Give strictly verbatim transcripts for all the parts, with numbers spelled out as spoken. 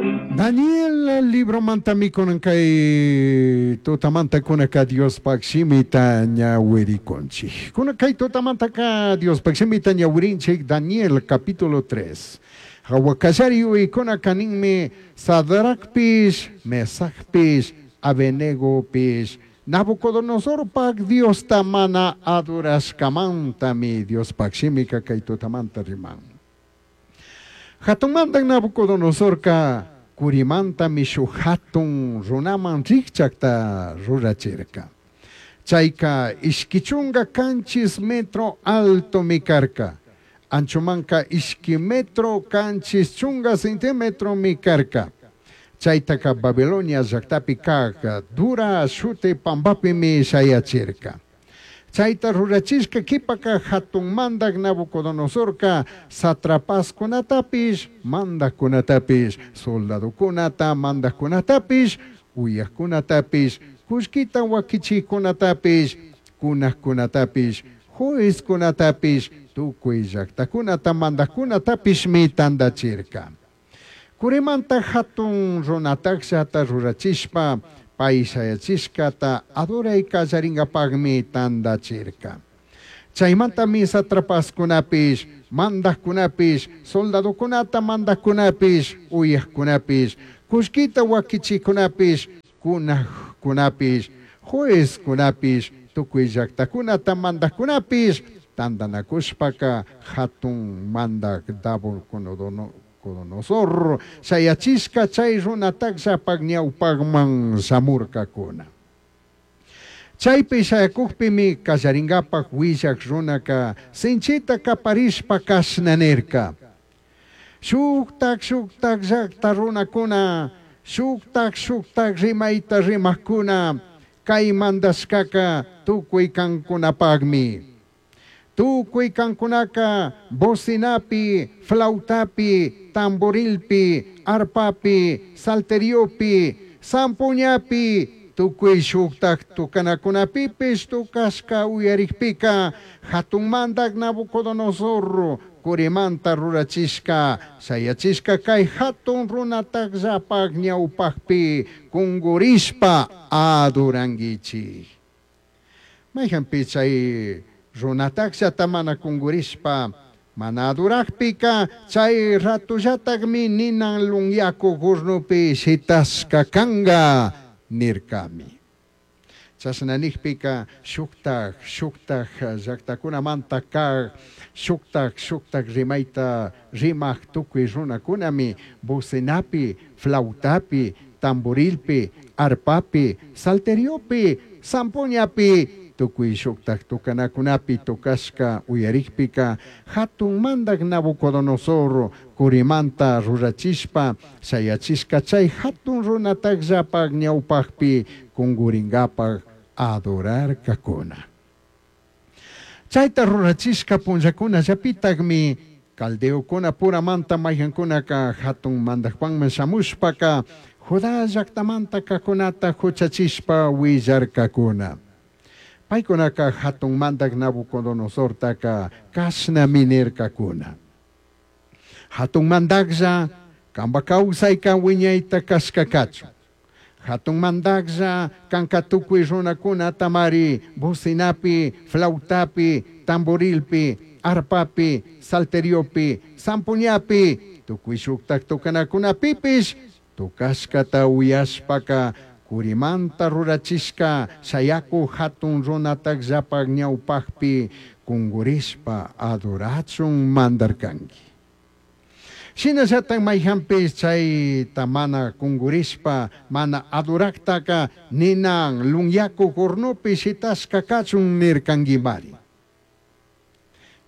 Daniel libromantami kunan kay tutamantakunaka Diospaq shimita ñawirikunchik. Kunan kay tutamantaka Diospaq shimita ñawirinchik Daniel capítulo tres. Hawa kallari yuyaykunaka ninmi Sadracpish, Mesacpish, Abednegopish, Nabucodonosorpaq Diosta mana adorashkamantami Diospaq shimika kay tutamanta riman. Hatunmantan Nabucodonosorka curimantami shuk hatun runaman rikchakta rurachirka. Chayka ishki chunka kanchis metro altomi karka. Anchomanka ishki metro kanchis chunka centímetromi karka. Chaytaka Babilonia llaktapi kaq Dura shuti pampapimi shayachirka. Chayta rurachishka qhipaka hatun mandak Nabucodonosorka satrapaskunatapish, mandakkunatapish, soldadokunata, mandakkunatapish, uyakkunatapish, kullkita wakichikkunatapish, kunakkunatapish, juezkunatapish, tukuy llaktakunata mandakkunatapishmi tandachirka. Curimanta hatun runatakllata rurachishpa pay shayachishkata adoray kallaringapaqmi tandachirka. Chaymantami satrapaskunapish, mandakkunapish, soldadokunata mandakkunapish, uyakkunapish, kullkita wakichikkunapish, kunakkunapish, juezkunapish, tukuy llaktakunata mandakkunapish tandanakushpaka hatun mandak Nabucodonosor shayachishka chay runatakllapaq ñawpaqman shamurkakuna. Chaypi shayakukpimi kallaringapaq willak runaka sinchita kaparishpa kashna nirka. Shuktak shuktak llakta runakuna, shuktak shuktak rimayta rimakkuna, kay mandashkaka tukuy kankunapaqmi. Tukuy kankunaka bocinapi, flautapi, tamborilpi, arpapi, salteriopi, zampoñapi, tukuy shuktak tukanakunapipish tukashka uyarikpika hatun mandak Nabucodonosor curimanta rurachishka shayachishka kay hatun runatakllapaq ñawpaqpi kungurishpa adorankichik. Mayqanpi chay runatakllata mana kungurishpa mana adorakpika chay ratullatakmi ninan lunyaku hornopi shitashka kanka nirkami. Chashna nikpika shuktak shuktak llaktakunamanta kaq shuktak shuktak rimayta rimaq tukuy runakunami bocinapi, flautapi, tamborilpi, arpapi, salteriopi, zampoñapi, tukuy shuktak tukanakunapi tukashka uyarikpika hatun mandak Nabucodonosor curimanta rurachishpa shayachishka chay hatun runatakllapaq ñawpaqpi kunguringapaq adorarkakuna. Chayta rurachishka punllakunallapitakmi caldeokuna puramanta mayqankunaka hatun mandakpanman shamushpaka Judá llaktamanta kaqkunata huchachishpa willarkakuna. Paykunaka hatun mandak Nabucodonosortaka kashnami nirkakuna. Hatun mandaklla kanpa kawsayka wiñayta kashka kachun. Hatun mandaklla kanka tukuy runakunatamari bocinapi, flautapi, tamborilpi, arpapi, salteriopi, zampoñapi, tukuy shuktak tukanakunapipish tukashkata uyashpaka curimanta rurachishka shayaku hatun runatakllapaq ñawpaqpi kungurishpa adorachun mandarkanki. Shinallatak mayqanpish chayta mana kungurishpa mana adoraktaka ninan lunyaku hornopi shitashka kachun nirkankimari.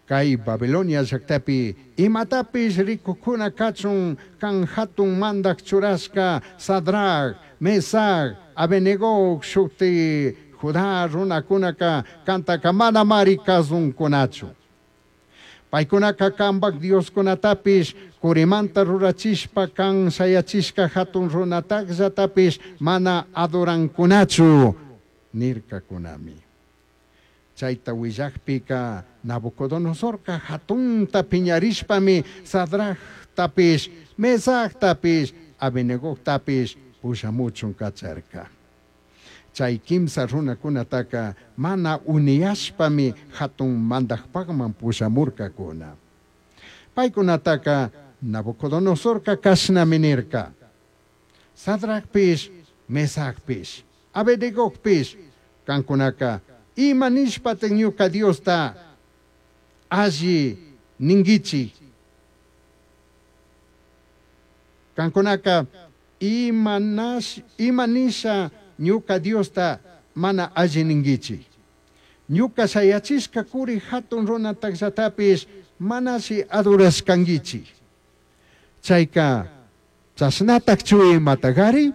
Kay Babilonia llaktapi imatapish rikukuna kachun kan hatun mandak churashka Sadrac, Mesac, Abednego shuti Judá runakunaka kantaka manamari kasunkunachu. Paykunaka kanpak dioskunatapish curimanta rurachishpa kan shayachishka hatun runatakllatapish mana adorankunachu nirkakunami. Chayta willakpika Nabucodonosorka hatunta piñarishpami Sadractapish, Mesactapish, Abednegojtapish pushamuchun cacharca. Chai quimsa runacunataca mana uniyashpami jatun mandajpajman pushamurcacuna. Paicunataca Nabucodonosorca cashnami nirca: Sadracpish, Mesacpish, Abednegojpish, cancunaca ima nishpataj ñuca Diosta alli ninguichij? Cancunaca ima nash, ima nisha ñuca Diosta mana alli ninguichij? Ñuca shayachishca curi jatun runatajllatapish manashi adorashcanguichij. Chaica chashnatajchu imatagari?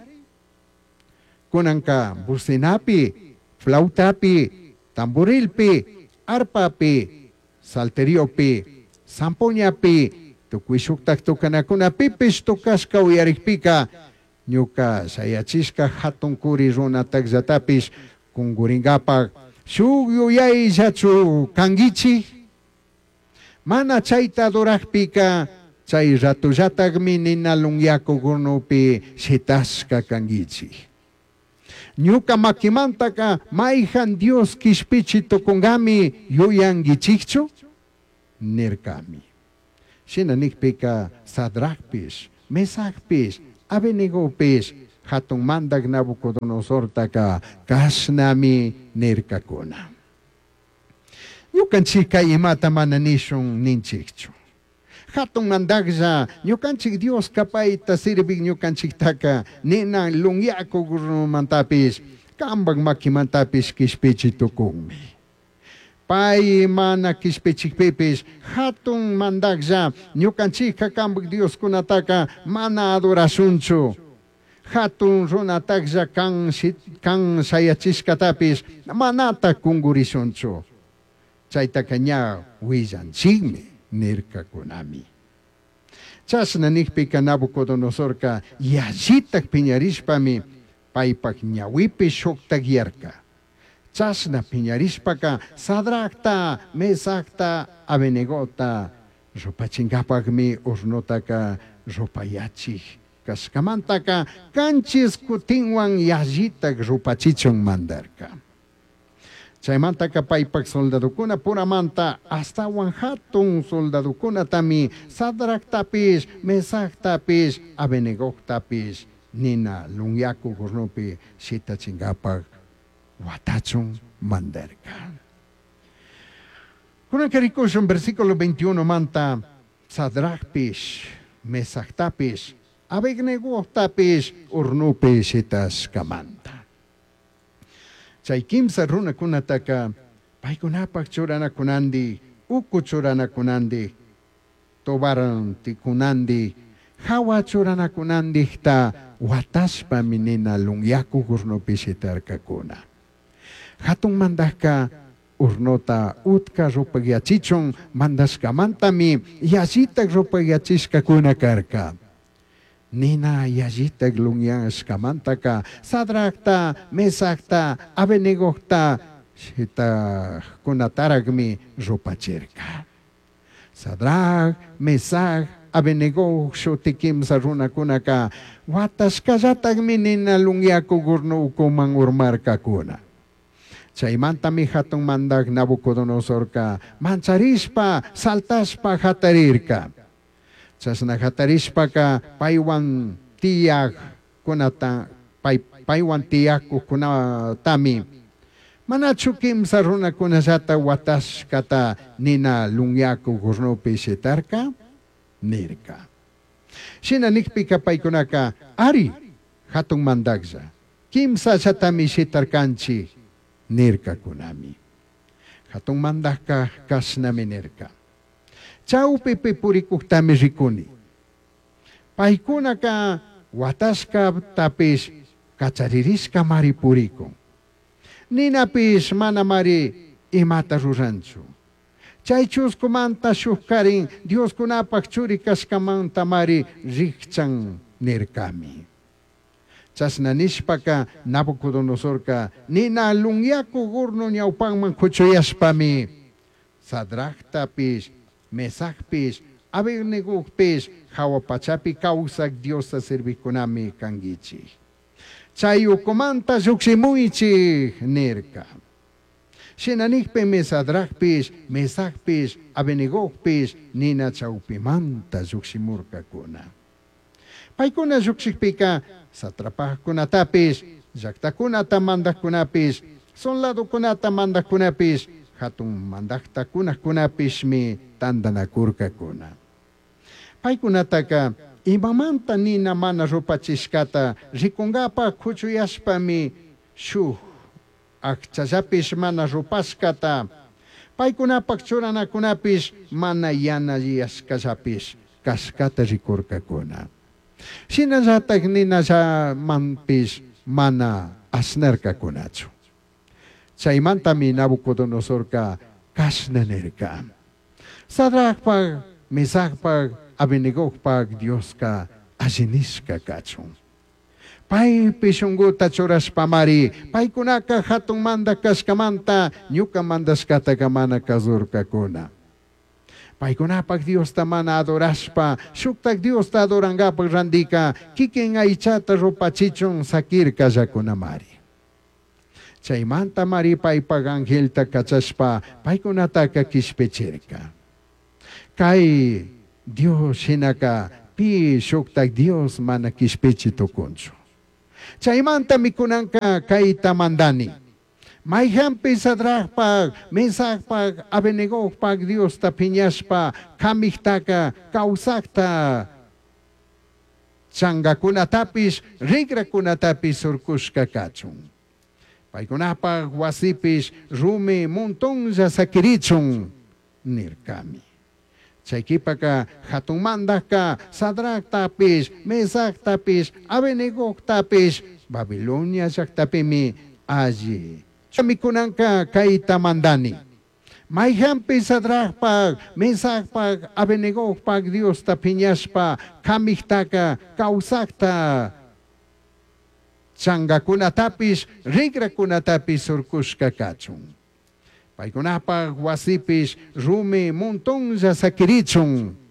Cunanca bocinapi, flautapi, tamborilpi, arpapi, salteriopi, zampoñapi, tucui shujtaj tocanacunapipish tocashca uyarijpica, ñuca shayachishca jatun curi runatajllatapish cunguringapaj shuj yuyaillachu canguichij? Mana chaita adorajpica, chai ratollatajmi nina lunyacuj hornopi shitashca canguichij. Ñuca maquimantaca maijan Dios quishpichi tucungami yuyanguichijchu? Nircami. Shina nijpica Sadracpish, Mesacpish, Abednegopish jatun mandaj Nabucodonosortaca cashnami nircacuna: Ñucanchijca imata mana nishun ninchijchu. Jatun mandajlla, ñucanchij Diosca paita sirvij ñucanchijtaca nina lunyacuj hornomantapish, cambaj maquimantapish quishpichi tucunmi. Pai mana quishpichijpipish, jatun mandajlla, ñucanchijca cambaj Dioscunataca mana adorashunchu. Jatun runatajlla can shi-, can shayachishcatapish manataj cungurishunchu. Chaitaca ña huillanchijmi, nircacunami. Chashna nijpica Nabucodonosorca yallitaj piñarishpami paipaj ñahuipi shujtajyarca. Chashna piñarishpaca Sadracta, Mesacta, Abednegota rupachingapajmi hornotaca rupayachij cashcamantaca canchis cutinhuan yallitaj rupachichun mandarca. Chaimantaca paipaj soldadocuna puramanta ashtahuan jatun soldadocunatami Sadractapish, Mesactapish, Abednegojtapish nina lunyacuj hornopi shitachingapaj huatachun mandarca. Cunanca ricushun versículo veintiuno manta Sadracpish, Mesactapish, Abednegojtapish hornopi shitashcamanta. Chai quimsa runacunataca paicunapaj churanacunandi, ucu churanacunandi, tobaranticunandi, jahua churanacunandijta huatashpami nina lunyacuj hornopi shitarcacuna. Jatun mandajca hornota utca rupagyachichun mandashcamantami yallitaj rupagyachishcacuna carca. Nina yallitaj lunyashcamantaca Sadracta, Mesacta, Abednegojta shitajcunatarajmi rupachirca. Sadrac, Mesac, Abednego shuti quimsa runacunaca huatashcallatajmi nina lunyacuj horno ucuman urmarcacuna. Chaimantami jatun mandaj Nabucodonosorca mancharishpa, saltashpa jatarirca. Chashna jatarishpaca paihuan tiyajcunata, pai, paihuan tiyajcunatami manachu quimsa runacunallata huatashcata nina lunyacuj hornopi shitarca? Nirca. Shina nijpica paicunaca, ari, jatun mandajlla, quimsallatami shitarcanchij, nircacunami. Jatun mandajca cashnami nirca: Chaupipi puricujtami ricuni. Paicunaca huatashcatapish cacharirishcamari puricun. Ninapish manamari imata ruranchu. Chay chuscumanta shujcarin Dioscunapaj churi cashcamantamari rijchan nircami. Chashna nishpaca Nabucodonosorca nina lunyacuj horno ñaupanman cuchuyashpami Sadractapish, Mesacpish, Abednegopish jahua pachapi causaj Diosta servijcunami canguichij. Chai ucumanta llujshimuichij nirca. Shina nijpimi Sadracpish, Mesacpish, Abednegopish nina chaupimanta llujshimurcacuna. Paicuna llujshijpica satrapacunatapish, llajtacunata mandajcunapish, soldadocunata mandajcunapish, jatun mandajta cunajcunapishmi tandanacurcacuna. Paicunataca imamanta nina mana rupachishcata ricungapaj cuchuyashpami shuj ajchallapish mana rupashcata, paicunapaj churanacunapish mana yanalliyashcallapish cashcata ricurcacuna. Shinallataj ninallamanpish mana ashnarcacunachu. Chaimantami Nabucodonosorca cashna nirca: Sadracpaj, Mesacpaj, Abednegopaj Diosca alli nishca cachun. Paipi shunguta churashpamari paicunaca jatun mandaj cashcamanta ñuca mandashcataca mana cazurcacuna. Paicunapaj Diosta mana adorashpa, shujtaj Diosta adorangapaj randica quiquin aichata rupachichun saquircallacunamari. Chaimantamari paipaj angelta cachashpa paicunataca quishpichirca. Cai Dios shinaca pi shujtaj Dios mana quishpichi tucunchu. Chaimantami cunanca caita mandani. Maijanpish Sadracpaj, Mesacpaj, Abednegopaj Diosta piñashpa camijtaca causajta changacunatapish, rigracunatapish surcushca cachun. Paicunapaj huasipish rumi montonlla saquirichun nircami. Chai q'uipaca jatun mandajca Sadractapish, Mesactapish, Abednegoctapish Babilonia llajtapimi alli. Cunanca caita mandani. Maijanpish Sadracpaj, Mesacpaj, Abednegopaj Diosta piñashpa camijtaca causajta changacunatapish, rigracunatapish surcushca cachun. Paicunapaj huasipish rumi montonlla saquirichun.